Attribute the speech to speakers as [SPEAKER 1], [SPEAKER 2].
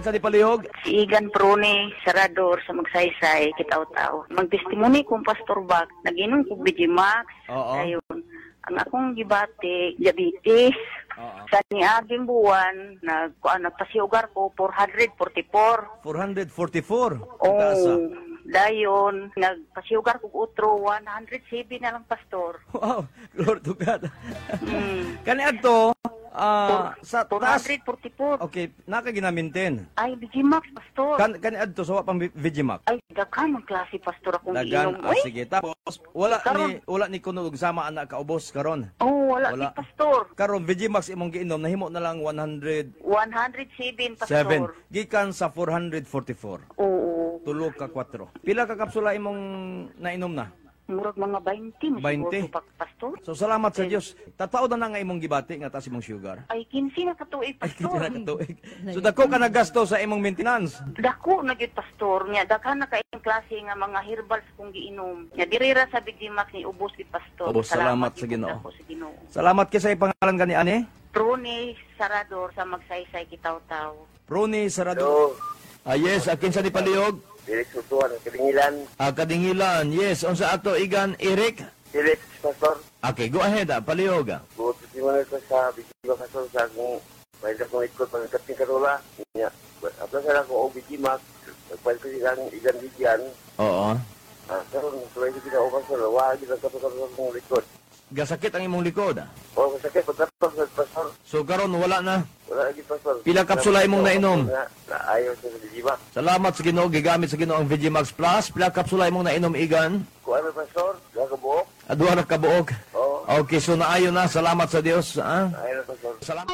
[SPEAKER 1] Kinsa ni palihog?
[SPEAKER 2] Si Igan Prone, Sarador sa Magsaysay, Kitaw-Tao. Magtestimony kong Pastor Bak, naginom kong BG Max. Ayun. Ang akong gibati, diabetes. Sa niaging buwan, nag, kuan, nagpasiugar ko, 444.
[SPEAKER 1] 444. Ang taas, ah.
[SPEAKER 2] Oh, dayon, nagpasiugar ko otro, 107 na lang, Pastor.
[SPEAKER 1] Wow, glory to God. Kani adto sa taas.
[SPEAKER 2] 444.
[SPEAKER 1] Okay, naka gina-maintain.
[SPEAKER 2] Ay, BG Max, Pastor.
[SPEAKER 1] Kani adto sa wa pang Vigimax.
[SPEAKER 2] Ay, daghan ang klase, Pastor, akong
[SPEAKER 1] Dagan,
[SPEAKER 2] giinom. Uy.
[SPEAKER 1] Sige. Tapos wala ni
[SPEAKER 2] Karon.
[SPEAKER 1] Wala ni kuno og sama ana kaubos karon.
[SPEAKER 2] Oh, wala,
[SPEAKER 1] Wala.
[SPEAKER 2] si Pastor.
[SPEAKER 1] Karon Vigimax imong giinom, nahimo na lang 107
[SPEAKER 2] 107, Pastor.
[SPEAKER 1] Gikan sa 444.
[SPEAKER 2] Oo.
[SPEAKER 1] Tulo ka 4. Pila ka kapsula imong nainom na?
[SPEAKER 2] Murag mga 20,
[SPEAKER 1] 20?
[SPEAKER 2] 20 pa, Pastor.
[SPEAKER 1] So salamat sa Dios. Tataw na nga imong gibati nga taas imong sugar.
[SPEAKER 2] Ay, 15 na katuig,
[SPEAKER 1] Ay,
[SPEAKER 2] Pastor.
[SPEAKER 1] kita na katuig. So dako ka naggasto sa imong maintenance.
[SPEAKER 2] Dako na gyud, Pastor, nya daghan na kayong klase nga mga herbals kong giinom. Nya diri ra sa Big Max ni ubos gid, Pastor.
[SPEAKER 1] Ubos, salamat sa
[SPEAKER 2] gyud
[SPEAKER 1] Ginoo.
[SPEAKER 2] dako sa Ginoo.
[SPEAKER 1] Salamat kay sa pangalan gani ani.
[SPEAKER 2] Prone Sarador sa Magsaysay, Kitaw-Taw.
[SPEAKER 1] Rony Sarado.
[SPEAKER 3] Hello.
[SPEAKER 1] Ah, yes, kinsa ni palihog?
[SPEAKER 3] Felix Utuan, Kadingilan.
[SPEAKER 1] Ah, Kadingilan. Yes, unsa ato, Igan Eric?
[SPEAKER 3] Felix, Pastor.
[SPEAKER 1] Okay, go ahead, palihog.
[SPEAKER 3] Buot testimony ko sa Bigiba, Pastor, sa akong may akong ikot pagkating karula. Nya, apla sa ako og Bigimax. Nagpalit ko silang igan bigyan. Ah, karon sulay ko sila o Pastor, wa gid ang kapag akong likod.
[SPEAKER 1] Gasakit ang imong likod, ah.
[SPEAKER 3] O masakit pagkatapos sa Pastor.
[SPEAKER 1] So karon wala na.
[SPEAKER 3] Wala lagi, Pastor.
[SPEAKER 1] Pila kapsula imong nainom?
[SPEAKER 3] Na, naayo sa Bigimax.
[SPEAKER 1] Salamat sa Ginoo, gigamit sa Ginoo ang Vigimax Plus. Pila kapsula imong nainom, Igan?
[SPEAKER 3] Kuan Pastor, gakabuok.
[SPEAKER 1] Duha ra kabuok.
[SPEAKER 3] Oo.
[SPEAKER 1] Okay, so naayo na. Salamat sa Dios. Ah.
[SPEAKER 3] Naayo na, Pastor.
[SPEAKER 1] Salamat.